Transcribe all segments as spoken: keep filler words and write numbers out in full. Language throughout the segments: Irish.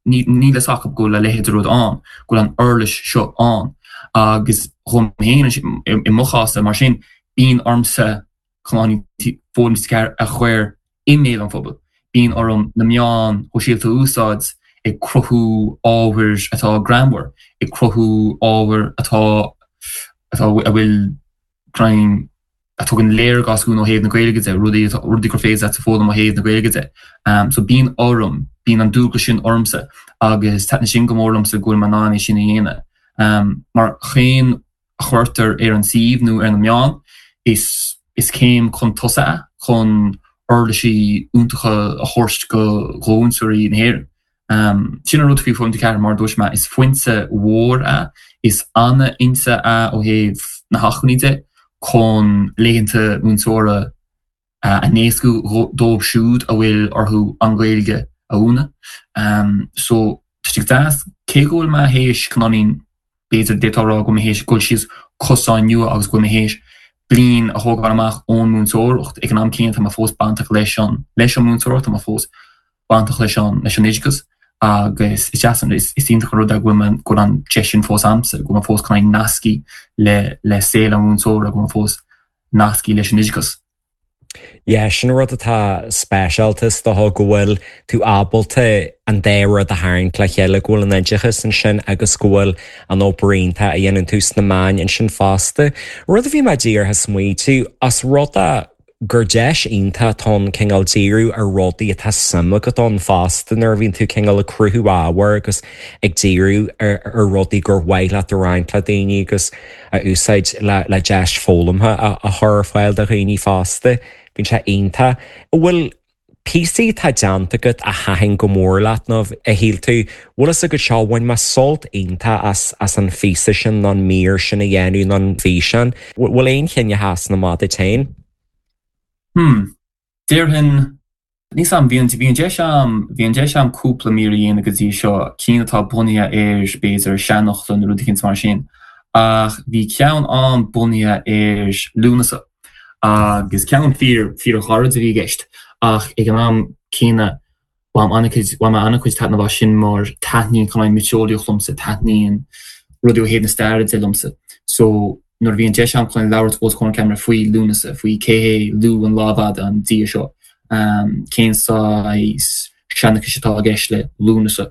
Níl a fhios acu go bhfuil a leithéid de rud ann, go bhfuil an uirlis seo ann. Agus dhom féin i mo chás mar sin, bíonn ormsa Foghlaim T G ceathair a chur i mbéal an phobail. Bíonn orm na meáin shóisialta a úsáid ag cruthú ábhair atá greannmhar, ag cruthú ábhair atá atá a bhfuil greim a tugann léargas dúinn ó thaobh na Gaeilge de, rudaí rudaí gur féidir leat a foghlaim ó thaobh na Gaeilge de. Um, so bíonn orm, bíonn an dualgas sin ormsa agus taitníonn sin go mór liomsa go bhfuil mé in ann é sin a dhéanamh. Um, mar chaon a chuirtear ar an suíomh nó ar na meáin is is céim chun tosaigh é chun uirlisí iontacha a thabhairt go mhúinteoirí na hÉireann. Um, sin an rud faoi Foghlaim T G ceathair mar dúirt mé is foinse mhór é, is an-fhoinse é ó thaobh na hacmhainní de chun laethanta múinteora a éascú dóibh siúd a bhfuil orthu an Ghaeilge a mhúineadh. Um, so tá sé deas cé go bhfuil mé théis cineáilín b'fhéidir d'fhéadfá a rá go bhfuil mé théis dul síos cosán nua agus go bhfuil mé théis bliain a thógáil amach ón múinteoireacht ag an am céanna tá mé fós bainteach leis an leis an múinteoireacht, tá mé fós bainteach leis an leis an oideachas agus is deas is is iontach an rud é go bhfuil go bhfuil an deis sin fós a'msa, go bhfuil mé fós chun nasctha le le saol an mhúinteora, go bhfuil mé fós nasctha leis an oideachas. Yeah, sin rud atá speisialta is dócha go bhfuil tú ábalta an dá rud a tharraingt le chéile go bhfuil an oideachas ansin agus go bhfuil an obair iontach a dhéanann tú sna meáin ansin fosta. Rud a bhí mé díreach ag smaointiú as rud a gur deis iontach atá ann cineál díriú ar rudaí atá suim agat ann fosta nuair a bhíonn tú cineál ag cruthú ábhair agus ag díriú ar, ar rudaí gur mhaith leat a roinnt le daoine agus a úsáid le, le deis foghlamtha a, a chur ar fáil do dhaoine fosta. Bíonn sé iontach. An bhfuil píosaí atá déanta agat a thaitin go mór leat nó a shíl tú, bhfuil fhios agat seo bhain mé sult iontach as as an phíosa sin nó an mír sin a dhéanamh nó an físeán. Bhfuil aon cheann a sheasann amach duit féin? Hmm. Déarfainn níos am bhí bhí an deis a'm bhí an deis a'm cúpla mír a dhéanamh go dtí seo cinn atá bunaithe ar b'fhéidir seanfhocla nó rudaí mar sin ach bhí ceann ann bunaithe ar Lúnasa agus ceann fíor fíorghairid a bhí i gceist ach ag an am céanna bhain an-chuid bhain mé an-chuid taitneamh as sin mar taitníonn chun miotaseolaíocht liomsa taitníonn rudaí ó thaobh na staire de liomsa. So nuair a bhí an deis a'm chun labhairt os comhair an ceamara faoi Lúnasa, faoi cé hé Lugh an Lámh Fhada an dia seo, um, cén saghas seanchais atá i gceist le Lúnasa.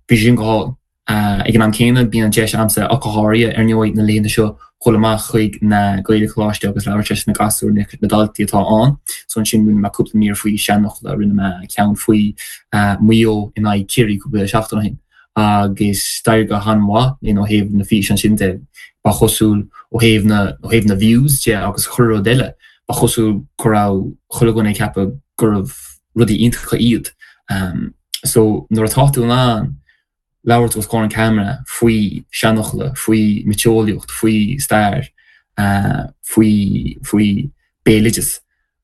Bhí sin go hálainn. Uh, ag an am céanna bíonn an deis a'msa ach go háirithe ar ndóigh na laethanta seo dul amach chuig na Gaelcholáistí agus labhairt leis na gasúir na, na daltaí atá ann. So ansin rinne mé cúpla mír faoi seanfhocla, rinne mé ceann faoi uh, Maigh Eo in aghaidh Ciarraí cúpla seachtain ó shin. agus d'éirigh go han-mhaith in ó thaobh na físeán sin de ba chosúil ó thaobh na ó thaobh na views de agus chuile rud eile ba chosúil go raibh chuile dhuine ag ceapadh gurbh rudaí iontacha iad. Um, so nuair atá tú in ann labhairt os comhair an ceamara faoi seanfhocla, faoi mhiotaseolaíocht, faoi stair, uh, faoi faoi béaloideas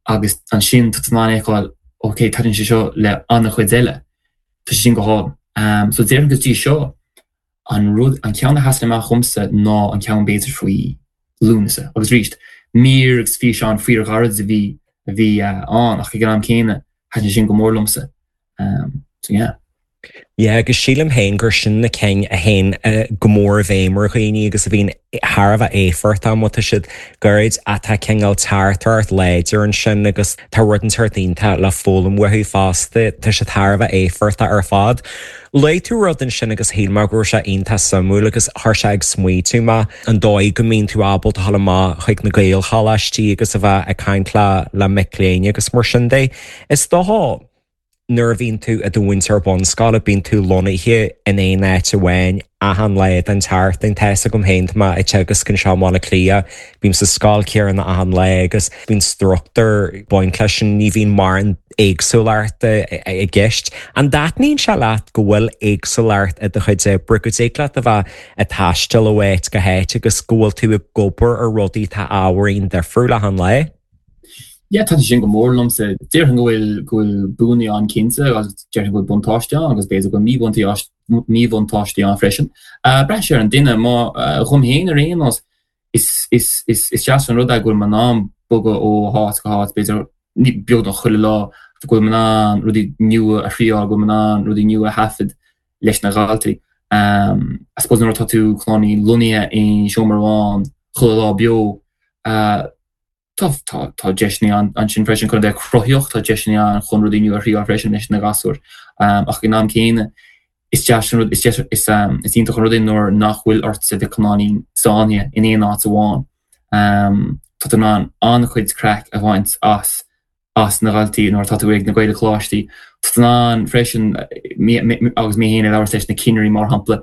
agus ansin tá tú in ann feiceáil ok taitníonn sé seo le an-chuid eile Tá sé sin go hálainn. Um, so déarfainn go dtí seo an rud an ceann a sheasann amach dhomsa ná an ceann b'fhéidir faoi Lúnasa agus arís mír agus físeán fíorghairid a bhí a bhí uh, ann ach ag an am céanna thaitin sin go mór liomsa. Um, so yeah. Yeah, agus sílim féin gur sin na cinn a théann uh, go mór i bhfeidhm ar dhaoine agus a bhíonn thar a bheith éifeachtach má tá siad gairid atá cineál teachtaireacht láidir ansin agus tá rud inteacht iontach le foghlaim uathu fosta, tá siad thar a bheith éifeachtach ar fad. Luaigh tú rud ansin agus shíl mé go raibh sé iontach suimiúil agus chuir sé ag smaoitiú mé an dóigh go mbíonn tú ábalta dul amach chuig na Gaelcholáistí agus a bheith ag caint le le mic léinn agus mar sin de. Is dócha nuair a bhíonn tú i do mhúinteoir bunscoile bíonn tú lonnaithe in aon áit amháin achan lá den tseachtain tá fhios agam féin tá mé ag teagasc anseo i mBaile Átha Cliath, bím sa scoil chéanna achan lá agus bíonn struchtúr ag baint leis sin ní bhíonn mórán éagsúlacht i gceist. An dtaitníonn sé leat go bhfuil éagsúlacht i do chuid oibre go dtig leat a bheith ag taisteal ó áit go háit agus go bhfuil tú ag obair ar rudaí atá ábhairín difriúil achan lá? Yeah, tá sin go mór liomsa déarfainn go bhfuil go bhfuil buanna ann cinnte agus déarfainn go bhfuil buntáiste ann agus b'fhéidir go bhfuil míbhuntáistí ann freisin. Uh, braitheann sé ar an duine má uh, dhom féin ar aon nós is is is is deas an rud é go bhfuil mé in ann bogadh ó háit go háit b'fhéidir ní beagnach chuile lá go bhfuil mé in ann rudaí nua a thriáil go bhfuil mé in ann rudaí nua a thaifead leis na dhaltaí. I suppose nuair atá tú cineáilín lonnaithe i seomra amháin chuile lá beo, tá tá tá deiseanna ann ansin freisin chun a bheith cruthaitheach, tá deiseanna ann chun rudaí nua a thriáil freisin leis na gasúir. Ach ag an am céanna, is deas an rud, is deas, is is iontach an rud é nuair nach bhfuil ortsa bheith cineáilín sáinnithe in aon áit amháin. Tá tú in ann an-chuid craic a bhaint as as na dhaltaí nuair atá tú ag na Gaelcholáistí. Tá tú in ann freisin, agus mé féin ag labhairt leis na cinnirí mar shampla,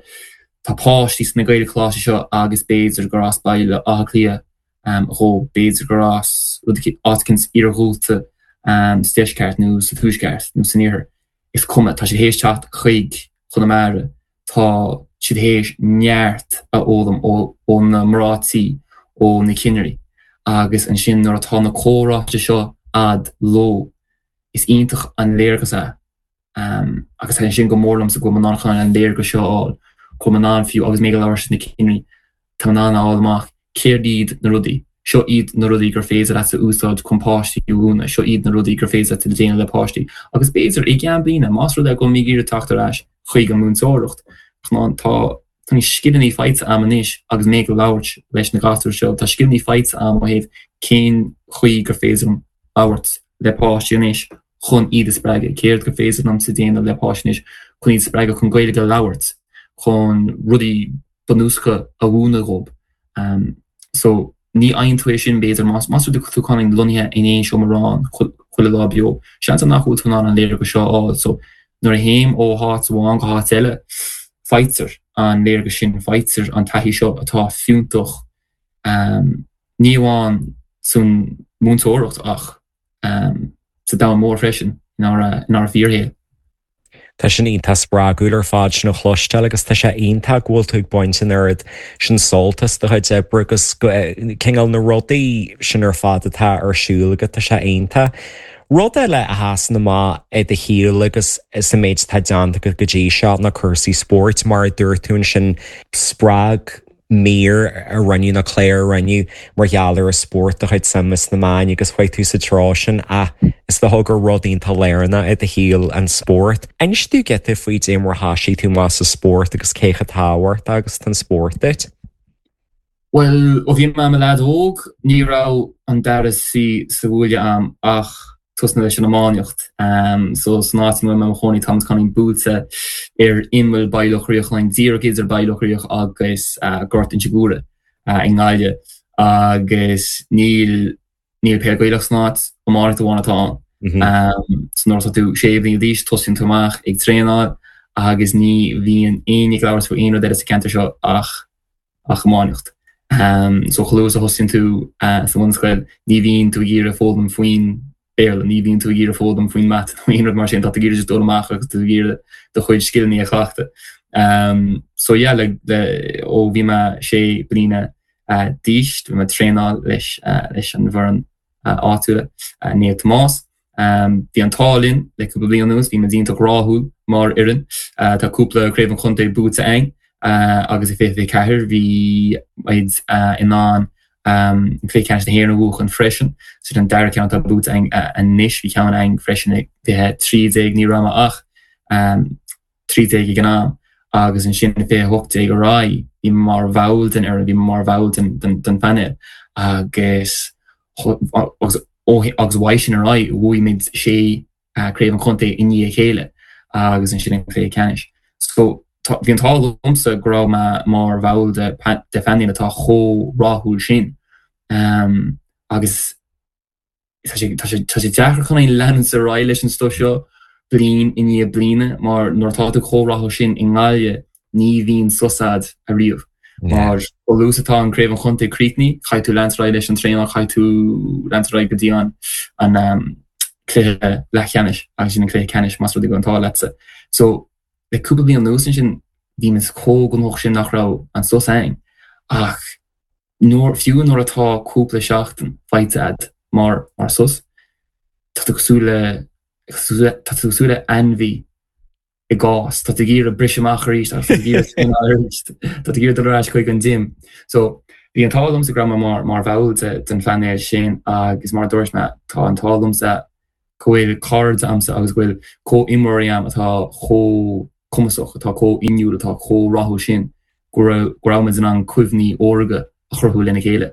tá páistí sna Gaelcholáistí seo agus b'fhéidir gur as Baile Átha Cliath dhóibh, b'fhéidir gur as rud áit éicint iarghúlta sa deisceart nó sa tuaisceart nó san iarthar. Is cuma, tá siad théis teacht chuig Chonamara, tá siad théis neart a fhoghlaim ó na mná tí, ó na cinnirí agus ansin nuair atá na comhráite seo a'd leo, is iontach an léargas é. Agus thaitin sin go mór liomsa go bhfuil mé in ann chun an léargas seo a fháil, go bhfuil mé in ann fiú agus mé ag labhairt leis na cinnirí, tá mé in ann a fháil amach céard iad na rudaí, seo iad na rudaí gur féidir leat a úsáid chun páistí a mhúineadh, seo iad na rudaí gur féidir leat a déanamh le páistí. Agus b'fhéidir i gceann bliana, más rud é go bhfuil mé ag iarraidh teacht ar ais chuig an múinteoireacht, tá tá na scileanna faighte a'm anois agus mé ag labhairt leis na gasúir seo, tá scileanna faighte a'm ó thaobh cén chaoi gur féidir liom labhairt le páistí anois chun iad a spreagadh, céard gur féidir liomsa déanamh le páistí anois chun iad a spreagadh chun Gaeilge a labhairt, chun rudaí bunúsacha a mhúineadh dhóibh. So ní fhaigheann tú é sin b'fhéidir más más rud é tú cineáilín lonnaithe in aon seomra ranga chuile lá beo. Seans nach bhfuil tú in ann an léargas seo a fháil. So nuair a théim ó háit amháin go háit eile, faightear an léargas sin, faightear an taithí seo atá fiúntach ní amháin san múinteoireacht ach sa domhan mór freisin, inár inár bhfíorshaol. Tá sin iontach spreagúil ar fad sin a chloisteáil agus tá sé iontach go bhfuil tú ag baint an oiread sin sult as do chuid oibre agus cineál na rudaí sin ar fad atá ar siúl agat, tá sé iontach. Rud eile a sheasann amach i do shaol agus sa méid atá déanta agat go dtí seo ná cúrsaí spóirt, mar a dúirt tú ansin, spreag mír a rinneadh nó clár a rinneadh mar gheall ar an spórt do chuid suime sna meáin agus chuaigh tú sa treo sin ach is dócha gur rud iontach lárnach i do shaol an spórt. Inis dúinn giota faoi dé mar a thosaigh tú amach sa spórt agus cé chomh tábhachtach agus atá an spórt duit. Bhuel, ó bhí mé i mo leaid óg, ní raibh an dara suí sa bhuaile a'm ach tosnú leis an iománaíocht. So san áit ina bhfuil mé i mo chónaí táimid cineáilín buailte ar imeall Baile Locha Riach, cineáilín díreach idir Baile Locha Riach agus Gort Inse Guaire i nGaillimh agus níl níl peil Gaelach san áit, iománaíocht amháin atá ann. So nuair atá tú sé bliana d'aois tosaíonn tú amach ag traenáil agus ní bhíonn éinne ag labhairt faoi aon rud eile sa cheantar seo ach ach iománaíocht. So chomh luath is a thosaíonn tú sa bhunscoil ní bhíonn tú ag iarraidh foghlaim faoin Béarla, ní bhíonn tú ag iarraidh foghlaim faoin mata nó aon rud mar sin, tá tú ag iarraidh just dul amach agus tú ag iarraidh do chuid scileanna a chleachtadh. So yeah, le, le, ó bhí mé sé bliana d'aois, bhí mé ag traenáil leis, leis an bhfoireann áitiúil, Naomh Tomás. Bhí an t-ádh linn le cúpla bliain anuas, bhí muid iontach rathúil mar fhoireann. Tá cúpla craobh an chontae buaite againn agus i fiche fiche ceathair bhí muid in ann an cluiche ceannais na hÉireann a bhuachan freisin. Sin an dara ceann atá buaite againn anois, bhí ceann againn freisin i fiche trí déag, ní raibh mé ach trí déag ag an am agus ansin i fiche hocht déag ar aghaidh bhí mé mar bhall den fhoireann, bhí mé mar bhall den den phainéal agus agus agus uaidh sin ar aghaidh bhuaigh muid sé craobh an chontae i ndiaidh a chéile agus ansin an cluiche ceannais. So bhí an t-ádh liomsa go raibh mé mar bhall de de phainéal atá chomh rathúil sin agus tá sé tá sé tá sé deacair chun leanúint ar aghaidh leis an stuif seo bliain i ndiaidh bliana mar nuair atá tú chomh rathúil sin i nGaillimh ní bhíonn sos a'd ariamh. Mar chomh luath is atá an craobh an chontae críochnaithe, caithfidh tú leanúint ar aghaidh leis an traenáil, caithfidh tú leanúint ar aghaidh go dtí an an cluiche leathcheannais agus sin an cluiche ceannais más rud é go bhfuil an t-ádh leatsa. So le cúpla bliain anuas ansin bhí muid chomh gnóthach sin nach raibh an sos ann ach nuair fiú nuair atá cúpla seachtain faighte a'd mar mar sos, tá tú cosúil le tá tú cosúil le ainmhí i gcás, tá tú ag iarraidh briseadh amach arís agus tá tú ag iarraidh traenáil arís, tá tú ag iarraidh dul ar ais chuig an gym. So bhí an t-ádh liomsa go raibh mé mar mar bhall de den phainéal sin agus mar a dúirt mé tá an t-ádh liomsa go bhfuil cairde a'msa agus go bhfuil comhimreoirí a'm atá chomh cumasach, atá chomh inniúil, atá chomh rathúil sin go raibh go raibh muid in ann cuimhní órga a chruthú lena chéile.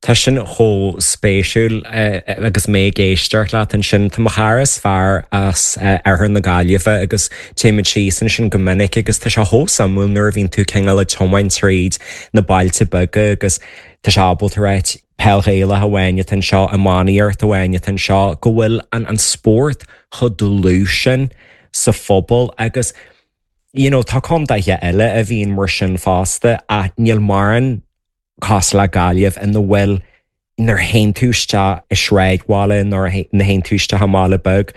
Tá sin chomh spéisiúil agus mé ag éisteacht leat ansin. Tá mo chara is fearr as oirthear na Gaillimhe agus téimid síos ansin go minic agus tá sé chomh suimiúil nuair a bhíonn tú cineál ag tiomáint tríd na bailte beaga agus tá sé ábalta ráit peil Ghaelach amháin atá anseo, iománaíocht amháin atá anseo, go bhfuil an an spórt chomh dlúth sin sa phobal agus you know tá contaetha eile a bhíonn mar sin fosta ach níl mórán cosúil le Gaillimh ina bhfuil nuair a théann tú isteach i sráidbhaile nuair a théann tú isteach i mbaile beag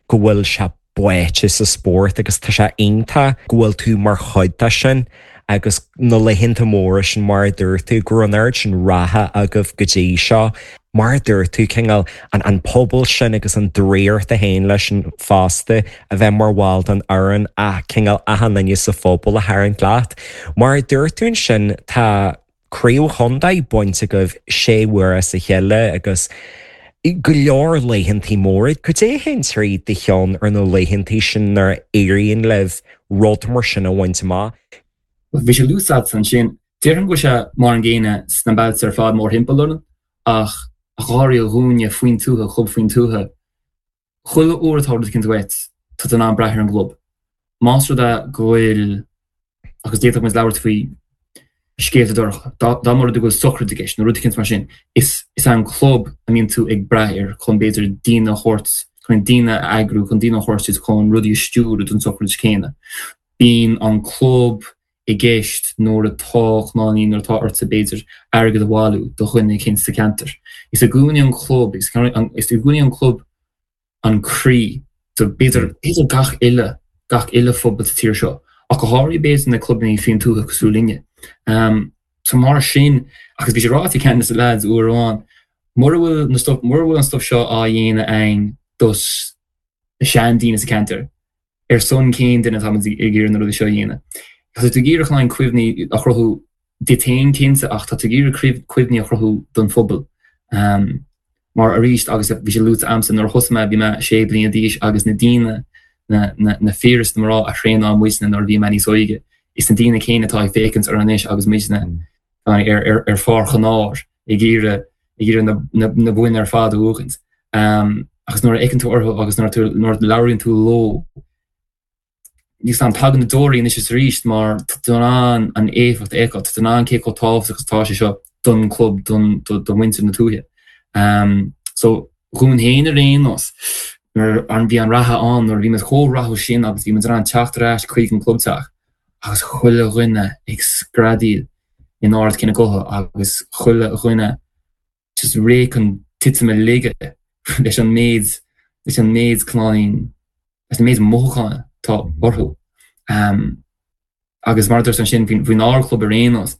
go bhfuil sé báite sa spórt agus tá sé iontach go bhfuil tú mar chuid de sin agus na laethanta móra sin mar a dúirt tú go raibh an oiread sin ratha agaibh go dtí seo. Mar a dúirt tú cineál an an pobal sin agus an draíocht a théann leis sin fosta a bheith mar bhall den fhoireann ach cineál achan duine sa phobal a tharraingt leat. Mar a dúirt tú ansin tá Craobh Chontae bainte agaibh sé huaire as a chéile agus go leor laethantaí móra. Cad é a théann trí do cheann ar na laethantaí sin nuair a éiríonn libh rud mar sin a bhaint amach? Bhí sé luaite agat ansin. Déarfainn go bhfuil sé mar an gcéanna sna bailte ar fad mórthimpeall orainn ach go háirithe dhúinne faoin tuath, club faoin tuath. Chuile uair atá rud eicínt uait, tá tú in ann brath ar an gclub. Más rud é go bhfuil, agus d'fhéadfadh muid labhairt faoi scéalta dorcha, dá mba rud é go bhfuil sochraid i gceist nó rud eicínt mar sin, is é an club a mbíonn tú ag brath air chun b'fhéidir daoine a thabhairt, chun daoine a eagrú, chun daoine a thabhairt duit chun rudaí a stiúradh don tsochraid chéanna. Bíonn an club i gceist nuair atá cnáinín, nuair atá ortsa b'fhéidir airgead a bhailiú do dhuine eicínt sa cheantar. Is i gcónaí an club, is i gcónaí an club an croí do b'fhéidir, b'fhéidir gach uile, gach uile phobal sa tír seo, ach go háirithe b'fhéidir na clubanna faoin tuath cosúil linne. So mar sin, agus bhí sé ráite ag ceann de na lads uair amháin, mura bhfuil na stuff, mura bhfuil an stuff seo á dhéanamh againn dos na seandaoine sa cheantar, ar son cén duine atá muid ag iarraidh na rudaí seo a dhéanamh? Tá tú ag iarraidh chun cuimhní a chruthú duit féin cinnte ach tá tú ag iarraidh cuimhní a chruthú don phobal. Mar arís, agus bhí sé luaite a'msa, nuair a thosaigh mé bhí mé sé bliana d'aois agus na daoine, na, na, na fir is na mná a thraenáil muidne nuair a bhí mé níos óige, is na daoine céanna atá ag féachaint orainn anois agus muidne ar, ar, ar pháirc an áir ag iarraidh, ag iarraidh na, na, na boinn ar fad a bhuachaint. Agus nuair a fhéachann tú orthu agus nuair, nuair a labhraíonn tú leo, Níl 's a'm, tagann na deoraí anois is arís mar tá tú in ann an éifeacht a fheiceáil, tá tú in ann cé chomh tábhachtach is atá sé seo don chlub, don do mhuintir na tuaithe. So, dhúinn féin ar aon nós, nuair a bhí an rath ann, nuair a bhí muid chomh rathúil sin agus bhí muid in ann teacht ar ais chuig an clubteach agus chuile dhuine ag screadaíl in ard cinn a gutha agus chuile dhuine just réidh chun titim i laige leis an méid, leis an méid cnáinín, leis an méid mothúcháin atá orthu. Agus mar a dúirt ansin, faoinár gclub ar aon nós,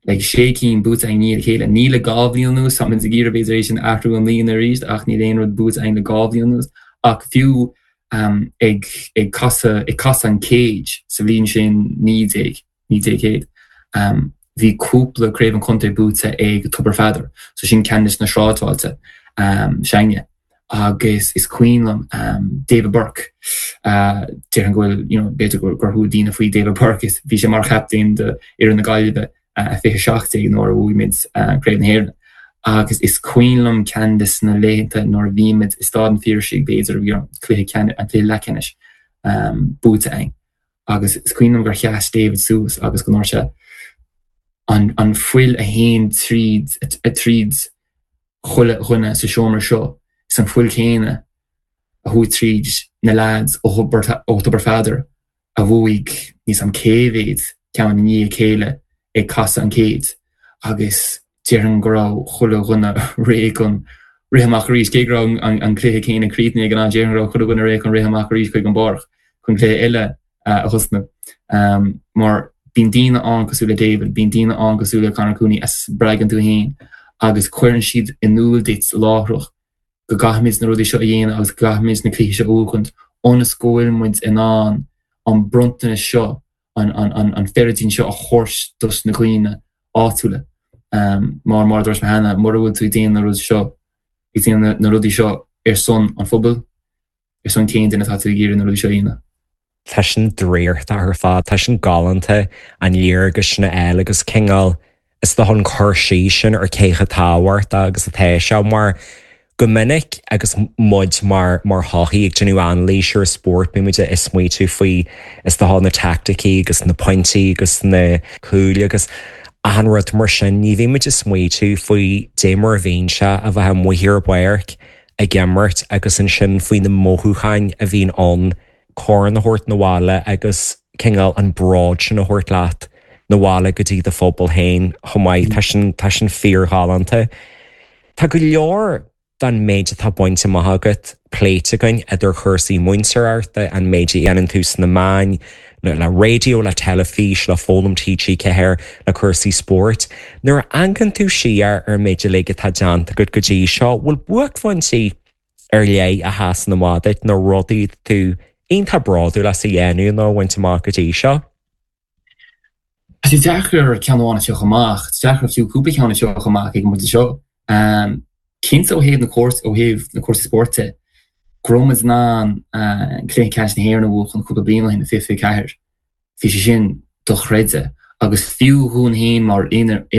like sé cinn buaite againn i ndiaidh a chéile. Ní le dhá bhliain anuas, tá muid ag iarraidh b'fhéidir é sin a athrú i mbliana arís ach níl aon rud buaite againn le dhá bhliain anuas. Ach fiú ag ag casadh ag casadh an chéid sa bhliain sin naoi déag naoi déag céad, bhí cúpla craobh an chontae buaite ag Tobar Pheadair, so sin ceann de na sráidbhailte s'againne. Agus is cuimhin liom David Burke, déarfainn go bhfuil, you know, b'fhéidir gur chuala daoine faoi David Burke, is bhí sé mar chaptaen do fhoireann na Gaillimhe fiche a seacht déag nuair a bhuaigh muid Craobh na hÉireann. Agus is cuimhin liom ceann de na laethanta nuair a bhí muid i Staid an Phiarsaigh, b'fhéidir, you know, cluiche ceannais, an cluiche leathcheannais buaite againn. Agus is cuimhin liom gur sheas David suas agus go ndúirt sé, An an fuil a théann tríd tríd chuile dhuine sa seomra seo, is an fuil chéanna a chuaigh tríd na leaids ó ó Thobar Pheadair a bhuaigh níl 's a'm cé mhéad ceann i ndiaidh a chéile ag casadh an chéid agus déarfainn go raibh chuile dhuine réidh chun rith amach arís, cé go raibh an cluiche céanna críochnaithe ag an am, déarfainn go raibh chuile dhuine réidh chun rith amach arís chuig an bpáirc chun cluiche eile a thosnú. Mar bíonn daoine ann cosúil le David, bíonn daoine ann cosúil le Conor Cooney a spreagann tú féin agus cuireann siad in iúl duit láithreach go gcaithfimid na rudaí seo a dhéanamh agus go gcaithfimid na cluichí seo a bhuachaint ionas go bhfuil muid in ann an bronntanas seo an an feiridín seo a thabhairt dos na dhaoine áitiúla. Mar mar a dúirt mé cheana, mura bhfuil tú ag déanamh na rud seo, ag déanamh na rudaí seo ar son an phobail, ar son cén duine atá tú ag iarraidh na rudaí seo a dhéanamh? Tá sin draíochtach ar fad, tá sin galánta an léargas sin a fháil agus cineál is dócha an cur síos sin ar cé chomh tábhachtach agus atá sé mar go minic agus muid mar mar shochaí ag déanamh anailís ar spórt bímid ag smaoitiú faoi is dócha na teaicticí agus na pointí agus na cúil agus achan rud mar sin ní bhímid ag smaoitiú faoi dé mar a bhíonn sé a bheith amuigh ar an bpáirc ag imirt agus ansin faoi na mothúcháin a bhíonn ann corn a thabhairt 'na bhaile agus cineál an bród sin a thabhairt leat 'na bhaile go dtí do phobal féin chomh maith. Tá sin tá sin fíorghalánta. Tá go leor den méid atá bainte amach agat pléite againn idir chúrsaí múinteoireachta, an méid a dhéanann tú sna meáin, le le raidió, le teilifís, le Foghlaim TG Ceathair, le cúrsaí spóirt. Nuair a amharcann tú siar ar an méid uilig atá déanta agat go dtí seo, bhfuil buaicphointí ar leith a sheasann amach duit nó rudaí tú iontach bródúil as a dhéanamh nó a bhaint amach go dtí seo? Tá sé deacair ceann amháin a phiocadh amach, tá sé deacair fiú cúpla ceann a phiocadh amach ag an bpointe seo. Cinnte ó thaobh na ó thaobh na cúrsaí spóirt de, go raibh muid in ann Cluiche Ceannais na hÉireann a bhuachan cúpla bliain ó shin i fiche fiche ceathair. Bhí sé sin dochreidte agus fiú dhúinn féin mar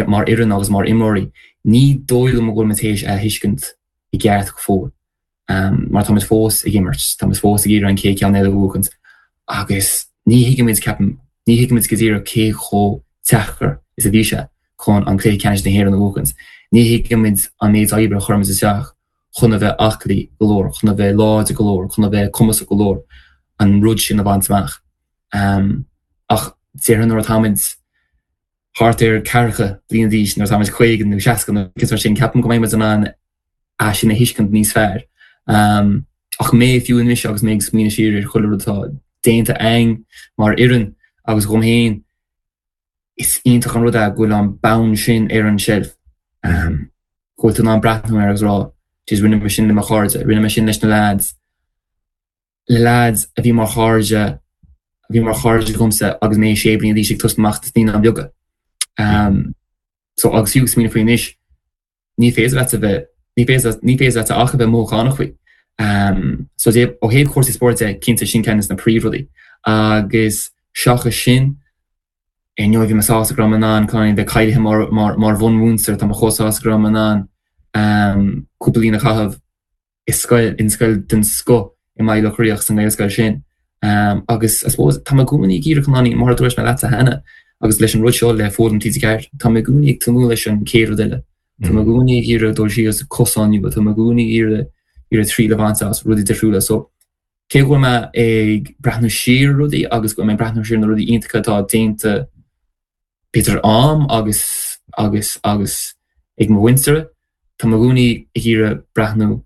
mar fhoireann agus mar imreoirí, ní dóigh liom go bhfuil muid théis a thuiscint i gceart go fóill. Mar táimid fós ag imirt, táimid fós ag iarraidh an chéad cheann eile a bhuachaint agus ní thuigimid, ceapaim, ní thuigimid go díreach cé chomh deacair is a bhí sé chun an Cluiche Ceannais na hÉireann a bhuachaint. Ní thuigimid an méid oibre a chuirimid isteach chun a bheith aclaí go leor, chun a bheith láidir go leor, chun a bheith cumasach go leor an rud sin a bhaint amach. Ach déarfainn nuair atáimid thart ar ceathracha bliain d'aois, nuair atáimid caoga nó seasca nó mar sin, ceapaim go mbeidh muid in ann é sin a thuiscint níos fearr. Ach mé fiú anois agus mé ag smaoineamh siar ar chuile rud atá déanta againn mar fhoireann agus dhom féin, is iontach an rud é go bhfuil an bonn sin ar an tseilf. Go bhfuil tú in ann breathnú air agus rá, jeez rinne mé sin le mo chairde, rinne mé sin leis na lads, le lads a bhí mar chairde, a bhí mar chairde agamsa agus mé sé bliana d'aois ag tosnú amach sna Naíonáin Bheaga. So agus fiú ag smaoineamh faoi anois, ní féidir leat a bheith, ní féidir, ní féidir leat ach a bheith mothúchánach faoi. So ó thaobh cúrsaí spóirt de, cinnte sin ceann de na príomhrudaí. Agus seachas sin, ar ndóigh bhí mé sásta go raibh mé in ann kind of bheith cáilithe mar, mar, mar bhunmhúinteoir, tá mé chomh sásta go raibh mé in ann cúpla bliain a chaitheamh i scoil, in scoil den scoth i mBaile Locha Riach sa nGaelscoil sin. Agus I suppose tá mé i gcónaí ag iarraidh cineál, mar a dúirt mé leatsa cheana, agus leis an rud seo le Foghlaim TG Ceathair, tá mé i gcónaí ag tnúth leis an chéad rud eile. Tá mé i gcónaí ag iarraidh dul síos cosán nua, tá mé i gcónaí ag iarraidh iarraidh triail a bhaint as rudaí difriúla. So cé go bhfuil mé ag breathnú siar ar rudaí agus go bhfuil mé ag breathnú siar ar na rudaí iontacha atá déanta b'fhéidir a'm agus agus agus ag mo mhuintir, tá mé i gcónaí ag iarraidh breathnú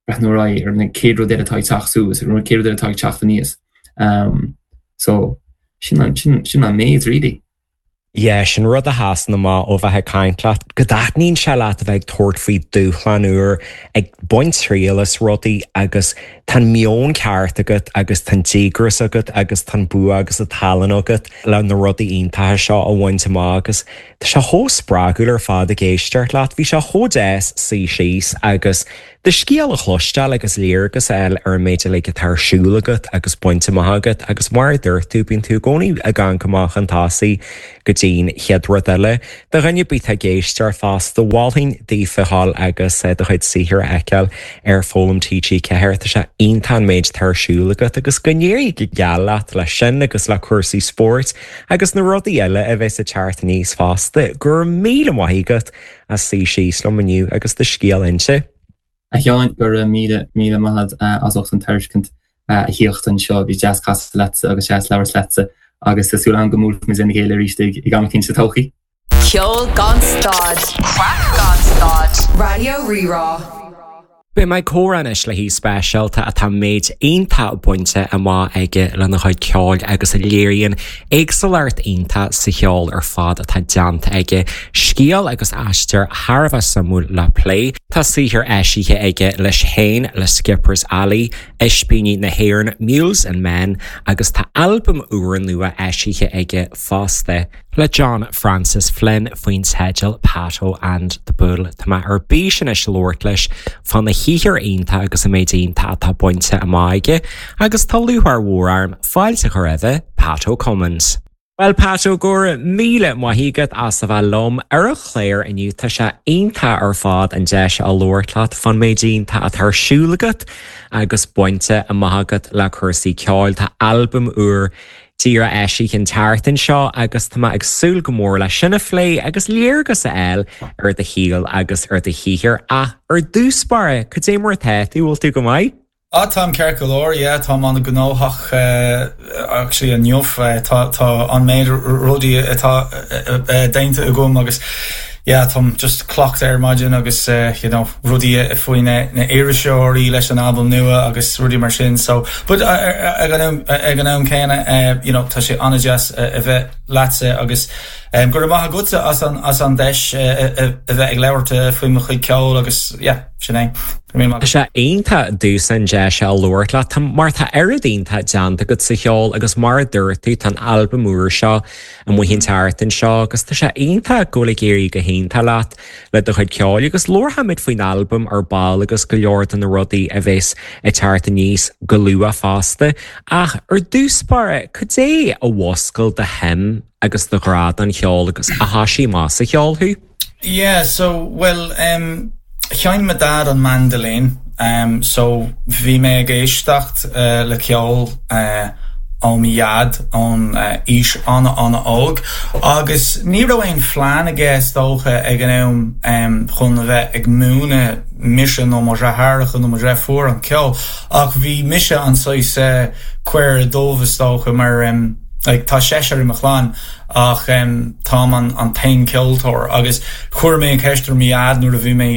breathnú ar aghaidh ar na chéad rud eile atá ag teacht suas, ar an chéad rud eile atá ag teacht aníos. Um, so sin an, sin, sin an méid really. Yeah, sin rud a sheasann amach ó bheith ag caint leat, go dtaitníonn sé leat a bheith ag tabhairt faoi dúshlán úr, ag baint triail as rudaí agus tá an meon ceart agat agus tá an díograis agat agus tá an bua agus an tallann agat le na rudaí iontacha seo a bhaint amach agus tá sé chomh spreagúil ar fad ag éisteacht leat. Bhí sé chomh deas suí síos agus do scéal a chloisteáil agus léargas a fháil ar an méid uilig atá ar siúl agat agus bainte amach agat agus mar a dúirt tú, bíonn tú i gcónaí ag amharc amach chun tosaigh go dtí'n chéad rud eile. Do dhuine ar bith atá ag éisteacht fosta, mholfainn daofa dhul agus do chuid saothair a fheiceáil ar Foghlaim TG Ceathair. Tá sé iontach an méid atá ar siúl agat agus go n-éirí go geal leat leis sin agus le cúrsaí spóirt agus na rudaí eile a bheas ag teacht aníos fosta. Go raibh míle maith agat as suí síos liom inniu agus do scéal a inse. A Sheáin, go raibh míle, míle maith agat as ucht an tairiscint a thíocht anseo. Bhí deas casadh leatsa agus deas labhairt leatsa agus tá súil agam go mbuailfimid lena chéile arís ag am eicínt sa todhchaí. Ceol gan stad, craic gan stad, Raidió Rí-Rá. Beidh mé ag comhrá anois le haoi speisialta atá méid iontach bainte amach aige lena chuid ceoil agus a léiríonn éagsúlacht iontach sa cheol ar fad atá déanta aige. Scéal agus aistear thar a bheith suimiúil le plé. Tá saothar eisithe aige leis féin, le Skippers Alley, Ispíní na hÉireann, Mules and Men agus tá albam úrnua eisithe aige fosta. Le John Francis Flynn faoin teideal Pato and the Bull. Tá mé ar bís anois labhairt leis fána shaothar iontach agus an méid iontach atá bainte amach aige, agus tá lúcháir mhór orm fáilte a chur roimhe Pat Ó Cummins. Well Pat go raibh míle maith agat as a bheith liom ar an chlár inniu tá sé iontach ar fad an deis a labhairt leat fán méid iontach atá ar siúl agat agus bainte amach agat le cúrsaí ceoil tá albam úr díreach eisithe an tseachtain seo agus tá mé ag súil go mór le sin a phlé agus léargas a fháil ar do shaol agus ar do shaothar ach ar dtús báire cad é mar atá tú bhfuil tú go maith? Ah táim ceart go leor yeah táim an-ghnóthach uh, actually inniu uh, tá tá an méid rudaí atá uh, déanta agam agus yeah táim just clocht ar maidin agus uh, you know rudaí faoi na na iriseoirí leis an album nua agus rudaí mar sin so but ag an am céanna uh, you know tá sé an-deas uh, a bheith leatsa agus um, go maith agatsa as an as an deis uh, a bheith ag labhairt faoi mo chuid ceoil agus yeah sin é. Tá sé iontach domsa an deis a labhairt leat mar tá oiread iontach déanta agat sa cheol agus mar a dúirt tú tá an albam úr seo amuigh an tseachtain seo agus tá sé iontach go bhfuil ag éirí go hiontach leat le do chuid ceoil agus labharfaimid faoin albam ar ball agus go leor de na rudaí a bheas ag teacht aníos go luath fosta ach ar dtús báire cad é a mhúscail do shuim agus do ghrá don cheol agus a thosaigh amach sa cheol thú? Yeah, so well um Sheinn mo dad an mandolin um, so bhí mé ag éisteacht uh, le ceol uh, ó mo dhaid ón uh, aois an-an-óg agus ní raibh aon phlean aige is dócha ag an am um, chun a bheith ag múineadh mise nó mo dheartháireacha nó mo dheirfiúr an ceol ach bhí mise an saghas uh, caora dubh is dócha mar um, like, tá seisear i mo chlann ach um, táim an, an t-aon ceoltóir agus chuir mé an ceist ar mo dhaid nuair a bhí mé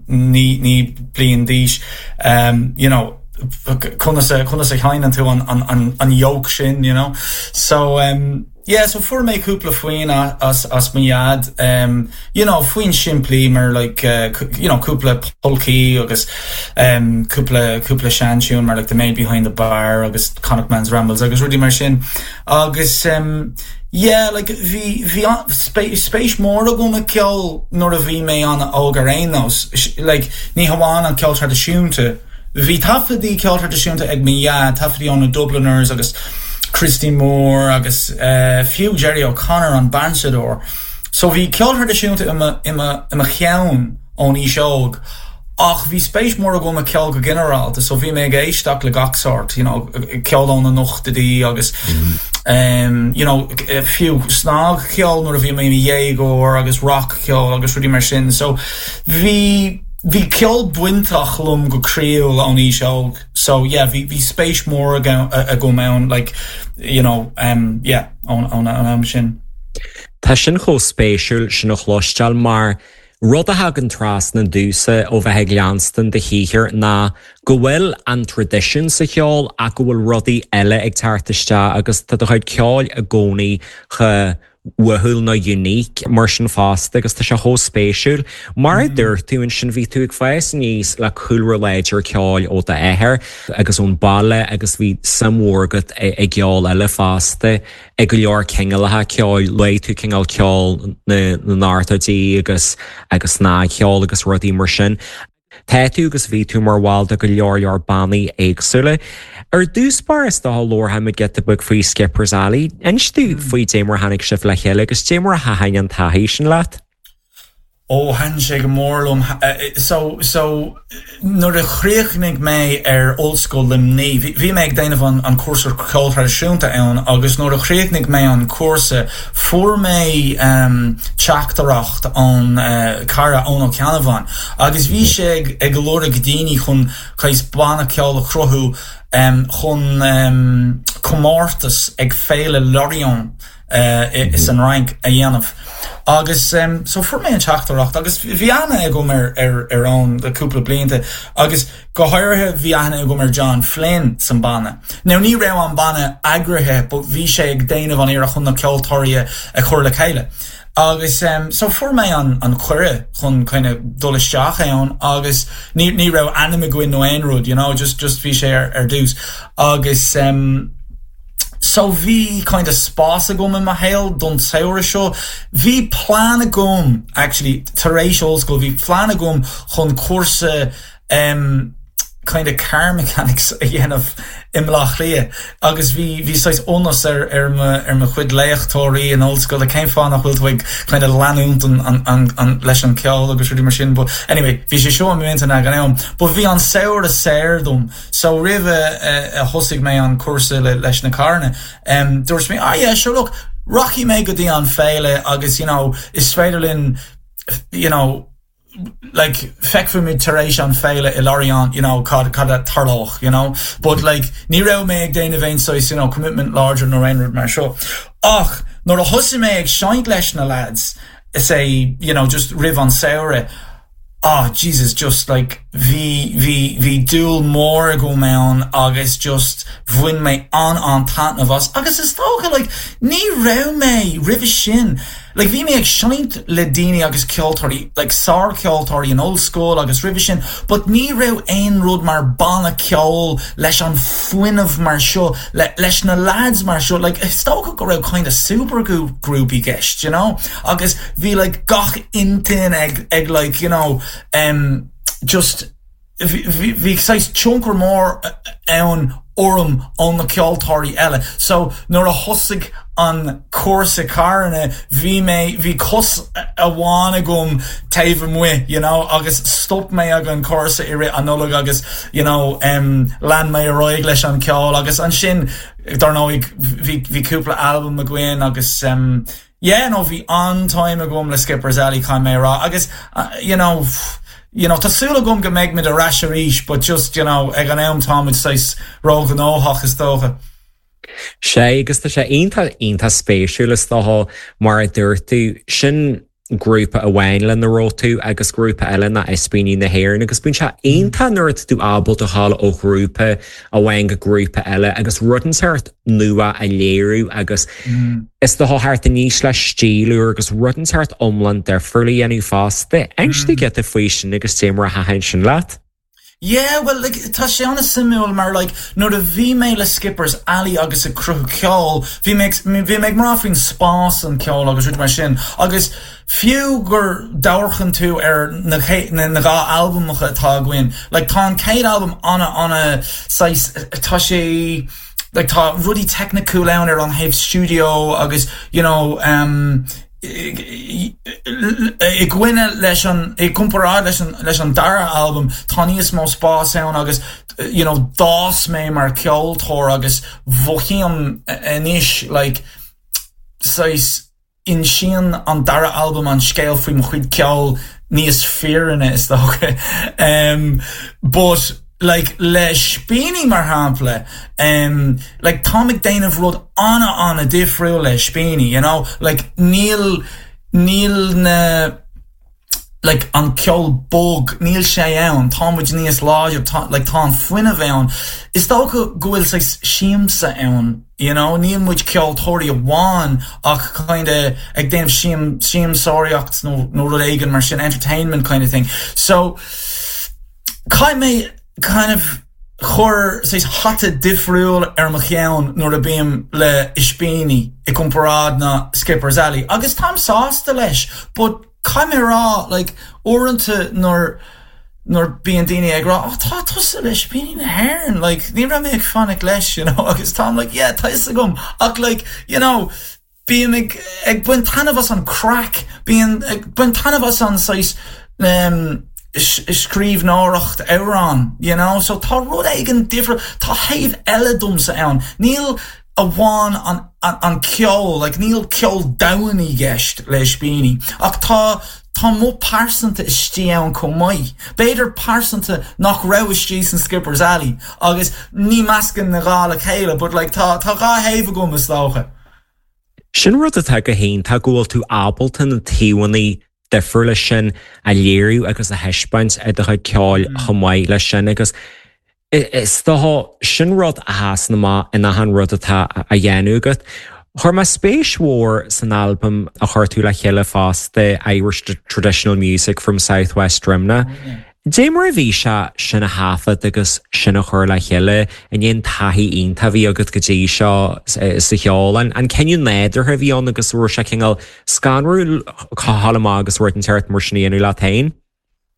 naoi naoi bliain d'aois um, you know, conas a conas a sheinneann tú an, an, an, an yoke sin you know so um, yeah so fuair mé cúpla foinn as as mo dhaid um, you know foinn simplí mar like uh, you know cúpla polcaí agus um, cúpla cúpla seantiún mar like the maid behind the bar agus Connachtman's Rambles agus rudaí mar sin agus um, yeah like bhí bhí spéis mór agam i ceol nuair a bhí mé an-óg ar aon nós like ní hamháin an ceol traidisiúnta Bhí taifeadtaí ceol traidisiúnta ag mo dhaid taifeadtaí ó na Dubliners agus Christy Moore agus uh, fiú Jerry O'Connor an bansadóir. So bhí ceol traidisiúnta i mo cheann ón aois óg. Ach bhí spéis mór agam i ceol go ginearálta, so bhí mé ag éisteacht le gach sórt, you know, ceol ó na hochtóidí agus mm. um, you know, fiú snagcheol nuair a bhí mé i mo dhéagóir agus rockcheol agus rudaí mar sin. So bhí bhí ceol bainteach liom go croíúil ón aois óg so yeah bhí bhí spéis mór agam ann like you know um yeah ón ón am sin. Tá sin chomh spéisiúil sin a chloisteáil mar rud a thagann trasna domsa ó bheith ag leanstan do shaothar ná go bhfuil an traidisiún sa cheol ach go bhfuil rudaí eile ag teacht isteach agus tá do chuid ceoil i gcónaí chomh uathúil nó unique mar sin fosta agus tá sé chomh spéisiúil. Mar a dúirt tú ansin bhí tú ag fás aníos le cúlra láidir ceoil ó d'athair agus ón baile agus bhí suim mhór agat i gceol eile fosta ag go leor cineálacha ceoil luaigh tú cineál ceol na n-ochtóidí agus agus snagcheol agus rudaí mar sin. Tá tú agus bhí tú mar bhall de go leor leor bannaí éagsúla. Ar dtús báire is dócha labharfaimid giota beag faoi Skippers Alley, Inis domh faoi cad é mar tháinig sibh le chéile agus cad é mar a thaitin an taithí sin leat? Ó thaitin sé go mór liom so so nuair a chríochnaigh mé ar Ollscoil Luimnigh bhí mé ag déanamh an an cúrsa ceol traidisiúnta ann agus nuair a chríochnaigh mé an cúrsa fuair mé um, teachtaireacht ón uh, cara Eoin Ó Ceannabháin agus bhí sé ag, ag lorg daoine chun saghas banna ceoil a chruthú um, chun um, comórtas ag Féile Lorient uh, is an Fhrainc a dhéanamh. Agus um, so fuair mé an teachtaireacht agus bhí aithne agam ar ar ar ann le cúpla blianta agus go háirithe bhí aithne agam ar John Flynn san banna. Now ní raibh an banna eagraithe, but bhí sé ag déanamh an iarracht chun na ceoltóirí a chur le chéile. Agus um, so fuair mé an an cuireadh chun kind of dul isteach ann agus ní ní raibh ainm againn nó aon rud, you know, just just bhí sé ar, ar dtús. Agus um, So bhí kind of spás agam i mo shaol don saoire seo. Bhí plean agam actually tar éis ollscoil, bhí plean agam chun cúrsa um, kind of car mechanics a dhéanamh i mBleá Cliath agus bhí bhí saghas iontas ar ar mo ar mo chuid léachtóirí in ollscoil cén fáth nach bhfuil tú ag kind of leanúint an, an, an, an leis an ceol agus rudaí mar sin but anyway bhí sé seo m'intinn ag an am but bhí an saoire saor dom so roimh a, a, a thosaigh mé an cúrsa le, leis na carranna um, dúirt mé ah yeah sure look rachaidh mé go dtí an féile agus you know is féidir linn you know like feicfimid tar éis an féile i Lorient you know cad cad a tharlóidh you know but like ní raibh mé ag déanamh aon saghas you know commitment láidir nó aon rud mar seo ach nuair a thosaigh mé ag seinnt leis na lads is é you know just roimh an saoire ah Jesus just like bhí bhí bhí dúil mór agam ann agus just bhain mé an an taitneamh as agus is dócha like ní raibh mé roimhe sin like bhí mé ag seinnt le daoine agus ceoltóirí like sárcheoltóirí in ollscoil agus roimhe sin but ní raibh aon rud mar banna ceoil leis an fuinneamh mar seo le, leis na lads mar seo like is dócha go raibh kind of super group i gceist you know agus bhí like gach intinn ag ag like you know um, just bhí bhí saghas tionchar mór ann orm ó na ceoltóirí eile. So nuair a thosaigh an cúrsa carranna bhí mé bhí cos amháin agam taobh amuigh you know, agus stop mé ag an cúrsa i rith an Nollaig agus you know, um, lean mé ar aghaidh leis an ceol agus ansin dar ndóigh bhí bhí cúpla album againn agus um, yeah, no bhí an-time agam le Skippers Alley caithfidh mé rá agus uh, you know, you know, tá súil agam go mbeidh muid ar ais arís, but just you know, ag an am táimid saghas róghnóthach is dócha. Sé agus tá sé iontach iontach spéisiúil is dócha mar a dúirt tú sin grúpa amháin lena raibh tú agus grúpa eile ná Ispíní na hÉireann agus bíonn sé iontach nuair tú ábalta dul ó ghrúpa amháin go grúpa eile agus rud inteacht nua a léiriú agus mm. is do thart níos le stílúr agus rud inteacht iomlán difriúil a dhéanamh fosta. Inis mm. giota faoi sin agus cé mar a thaitin sin leat? Yeah, well like, tá sé an-suimiúil mar like, nuair a bhí mé le Skippers Alley agus ag cruthú ceol, bhí mé bhí mé mar faoin spás an ceol agus rud mar sin agus fiú gur amharcann tú ar na na, na dhá albamacha atá againn like tá an chéad album ana ana saghas tá sé like tá rudaí teicniúil ann ar an thaobh studio agus you know um, i gcoinne leis an i gcomparáid leis an leis an dara album tá níos mó spás ann agus you know d'fhás mé mar ceoltóir agus mothaím anois like saghas insíonn an dara album an scéal faoi mo chuid ceol níos fírinne is dócha um, but like le Ispíní mar shampla um, like tá ag déanamh rud ana ana difriúil le Ispíní you know like níl níl na like an ceol bog níl sé ann táimid níos láidir tá like tá an fuinneamh ann is dócha go bhfuil saghas siamsa ann you know níl muid ceoltóirí amháin ach kind of ag déanamh siam siamsóireacht nó nó rud éigin mar sin entertainment kind of thing so caithfidh mé kind of chur saghas hata difriúil ar mo cheann nuair a bím le Ispíní i gcomparáid na Skippers Alley agus táim sásta leis but caithfidh mé rá like uaireanta nuair nuair bíonn daoine ag rá oh, tá tusa le Ispíní na hÉireann like ní raibh mé ag fanacht leis you know agus táim like yeah tá fhios agam ach like you know bím ag ag baint taitneamh as an craic bíonn ag baint taitneamh as an saghas um, scríbhneoireacht amhrán you know so tá rud éigin difriúil tá taobh eile domsa ann níl amháin an, an, an ceol like níl ceol domhain i gceist le Ispíní ach tá tá mo pearsanta istigh ann chomh maith B'fhéidir pearsanta nach raibh istigh san Skippers Alley agus ní meascann na dhá le chéile but like tá tá dhá thaobh agam is dócha. Sin rud atá go hiontach go bhfuil tú ábalta na taobhanna difriúla sin a léiriú agus a thaispeáint i do chuid ceoil chomh maith leis sin agus is dócha sin rud a sheasann amach in achan rud atá a dhéanamh agat. Chuir mé spéis mhór san albam a chuir tú le chéile fosta Irish Traditional Music from South West Drimnagh. Dé mar a bhí sé sin a thaifead agus sin a chur le chéile in aon taithí iontach a bhí agat go dtí seo sa cheol an an cinneadh nádúrtha a bhí ann agus raibh sé cineál scanrúil cáil amach agus rud inteacht mar sin a dhéanamh leat féin.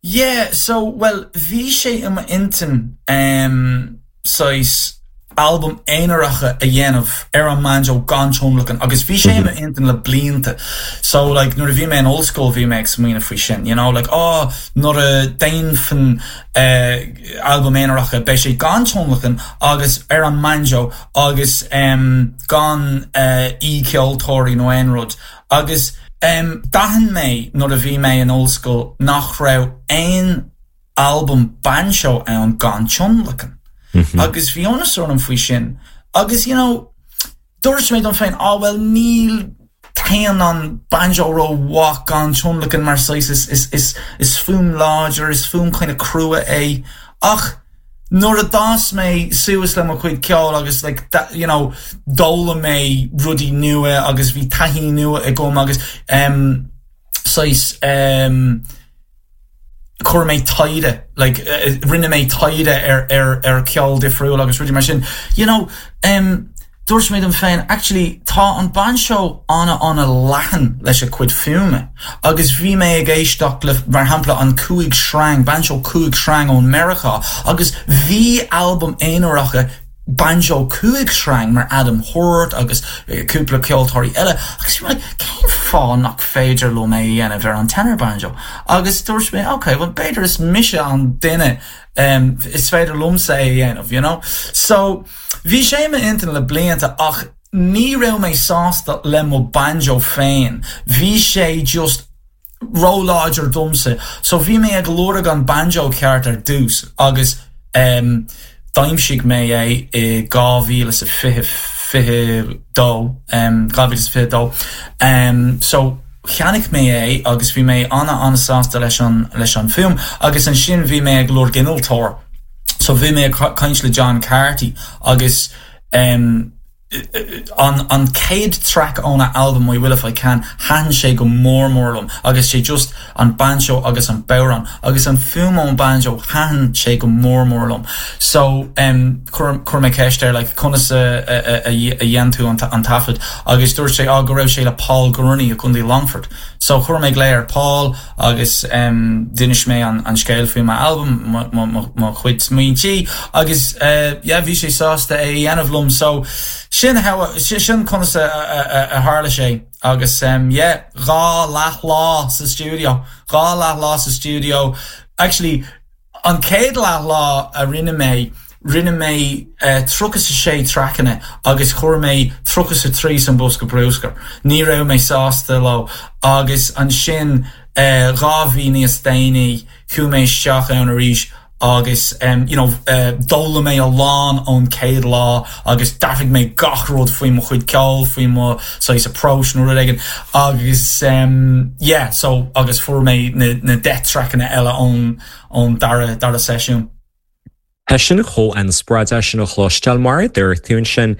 Yeah, so well bhí sé i m'intinn um, saghas album aonaracha a dhéanamh ar an mbanjo gan tionlacan agus bhí sé mm -hmm. intinn le blianta. So like nuair a bhí mé in ollscoil bhí mé ag smaoineamh faoi sin, you know, like oh nuair a dhéanfainn uh, album aonaracha beidh sé gan tionlacan agus ar an mbanjo agus um, gan uh, aoi-cheoltóirí nó aon rud agus um, d'aithin mé nuair a bhí mé in ollscoil nach raibh aon album banjo ann gan tionlacan. Mm -hmm. Agus bhí iontas orm faoi sin. Agus you know, dúirt mé dom féin á well níl téann an banjo rómhaith gan tionlacan mar is is is is fuaim láidir is fuaim kind of crua é ach nuair a d'fhás mé suas le mo chuid ceoil agus like that, you know d'fhoghlaim mé rudaí nua agus bhí taithí nua agam agus um, saghas um, chuir mé taighde like uh, rinne mé taighde ar ar ar ceol difriúil agus rudaí mar sin you know um, dúirt mé dom féin actually tá an banjo ana ana leathan leis a cuid fuaime agus bhí mé ag éisteacht le mar shampla an cúig sreang banjo cúig sreang ón Meiriceá agus bhí album aonaracha banjo cúig sreang mar Adam Hort agus eh, cúpla ceoltóirí eile agus bhí mé like, cén fáth nach féidir liom é a dhéanamh ar an tenor banjo agus dúirt mé okay well b'fhéidir is mise an duine um, is féidir liomsa é a dhéanamh you know so bhí sé intinn le blianta ach ní raibh mé sásta le mo banjo féin bhí sé just róláidir domsa so bhí mé ag lorg an banjo ceart ar dtús agus um, d'aimsigh mé é i dhá mhíle sa fiche fiche dó um, dhá mhíle fiche dó um, so cheannaigh mé é agus bhí mé ana an-sásta leis an leis an fuaim agus ansin bhí mé ag lorg innealtóir so bhí mé caint le John Carty agus um, an an céad track óna album I Will If I Can thaitin sé go mór mór liom agus sé just an banjo agus an bodhrán agus an fuaim ón banjo thaitin sé go mór mór liom so um, chuir mé ceist air like, conas a, a, a, a dhéan tú an, an taifead agus dúirt sé á go raibh sé le Paul Gurney i gContae Longford so chuir mé glao ar Paul agus um, d'inis mé an, an scéal faoi album mo chuid smaointe agus uh, yeah, bhí sé sásta é dhéanamh liom so sin sin conas a, a, a, a tharla sé agus um, yeah, dhá leathlá sa studio dhá leathlá sa studio actually an céad leathlá a rinne mé rinne mé uh, tríocha a sé trackanna agus chuir mé tríocha a trí san bosca bruscair. Ní raibh mé sásta leo agus ansin uh, dhá mhí níos déanaí chuaigh mé isteach ann arís agus um, you know, uh, d'fhoghlaim mé a lán ón céad lá agus d'athraigh mé gach rud faoi mo chuid ceoil faoi mo saghas approach nó rud éigin agus um, yeah, so agus fuair mé na, na deich trackanna eile ón ón dara dara seisiún. Tá sin chomh inspioráideach sin a chloisteáil mar a dúirt tú sin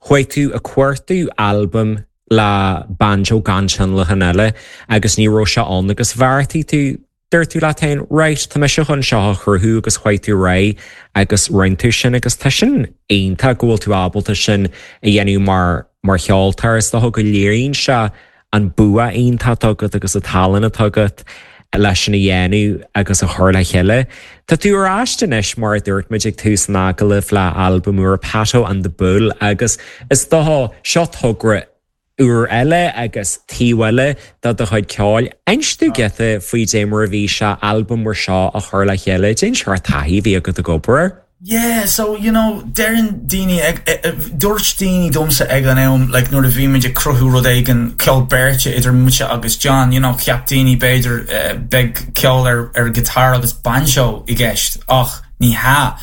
chuaigh tú a cuartú album le banjo gan tionlacan eile agus ní raibh sé ann agus bheartaigh tú dúirt tú leat féin right tá mise chun seo a chruthú agus chuaigh tú réidh agus rinne tú sin agus tá sin iontach go bhfuil tú ábalta sin a dhéanamh mar mar cheoltóir is dócha go léiríonn sé an bua iontach agat agus an tallann atá agat leis sin a dhéanamh agus a chur le chéile. Tá tú ar ais anois mar a dúirt muid ag tús an agallaimh le albam úr Pato and the Bull agus is dócha seo togra úr eile agus taobh eile de do chuid ceoil. Inis dúinn giota faoi dé mar a bhí sé albam mar seo a chur le chéile, cén sórt taithí a bhí agat ag obair. Yeah, so you know, deireann daoine ag dúirt daoine domsa ag an am like nuair a bhí muid ag cruthú rud éigin ceol beirte idir mise agus John, you know, cheap daoine b'fhéidir uh, beidh ceol ar ar guitar agus banjo i gceist ach ní hea